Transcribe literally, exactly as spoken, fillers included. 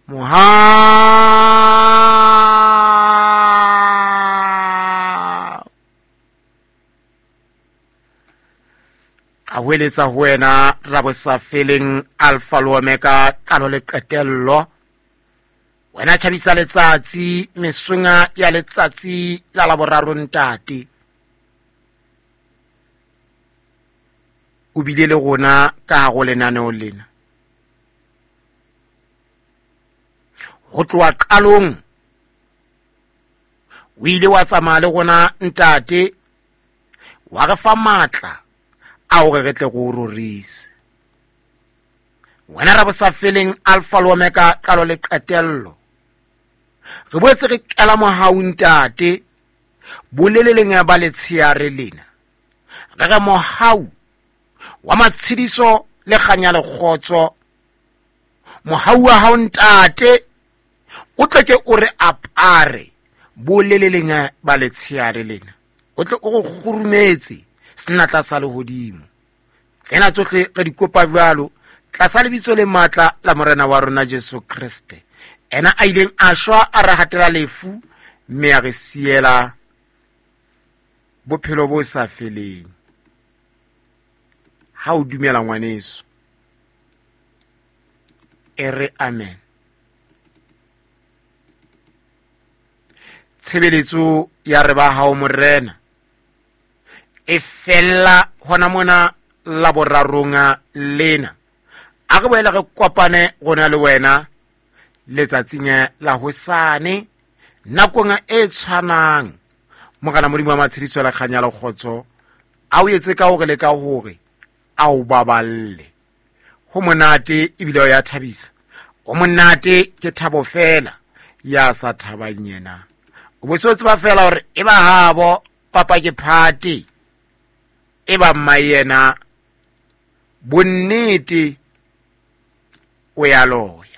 Mohau. Ka hweletsa ho wena Rabosafeleng, Alpha le Omega, qalo le qetello. Wena tjhabisa letsatsi, mesonga ya letsatsi la Laboraro ntate. O bile le rona ka hare ho lenaneo lena. Ho tloha qalong o ile wa tsamaya le rona ntate, wa re fa matla a hore re tle re o rorise. Wena Rabosafeleng, Alpha le Omega, qalo le qetello. Re boetse re kela mohau ntate, boleleleng ba letsheare lena. Re re mohau wa matshediso le kganya le kgotso, mohau wa hao ntate o tle ke o re apare boleleleng ba letsheare lena, o tle o re kgurumetse senatla sa lehodimo. Tsena tsohle re di kopa jwalo tlasa lebitso le matla la Morena wa rona Jesu Kreste, ena a ileng a shwa a re hatela lefu mme a re siela bophelo bo sa feleng. Ha o dumela ngwaneso, e re amen. Tshebeletso ya re ba hao Morena e fella hona mona Laborarong lena. A re boele re kopane rona le wena letsatsing la hosane nakong e tshwanang. Morena Modimo wa matshediso le kganya le kgotso a o etse ka hore le ka hore a o baballe. Ho monate ebile o ya thabisa. O monate ke thabo fela ya sa thabang yena. O bo se tseba fela hore e ba habo papa ke phate, e ba mma yena bonnete o ya loya.